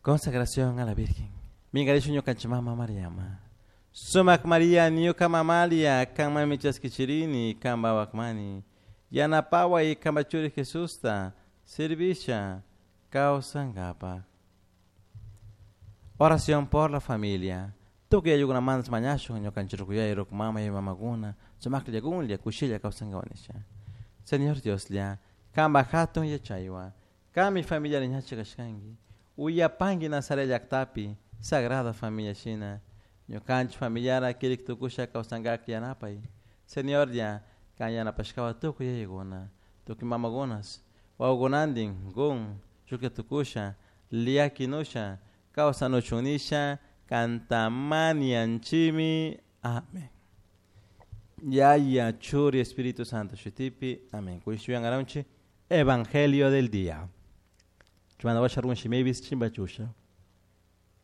Consagración a la Virgen. Minkarishu ñukanchik mama Mariama. Sumak Maria ñuka mamalia kanmanmi chaskichirini kanpa wakmani. Yanapaway kanpa churi Jesusta servisha kawsankapak. Oración por la familia. Tukuy ayukunamanta mañashun ñukanchik rukuyay ruk mama y mamakuna sumaklla kunlla kushilla kawsankapak nisha. Señor Dioslla, kanpa hatun yachaywan, kanmi familia ñacha kashkanki. Uyapanki Nazaret llaktapi Sagrada Familia shina. Ñukanchik familiara kirik tukusha kawsankak yanapay. Señorlla, kan yanapashkawa tukuy yayakuna, tukuy mamakunas, wawakunantin kun shuklla tukusha, llakinusha, kawsanuchun nisha, kanta mañanchimi. Amén. Yaya, Churi, Espíritu Santo, shutipi. Amén. Kushuyangaraunchi. Evangelio del día. Chumana washa runshi mebis chimbachusha.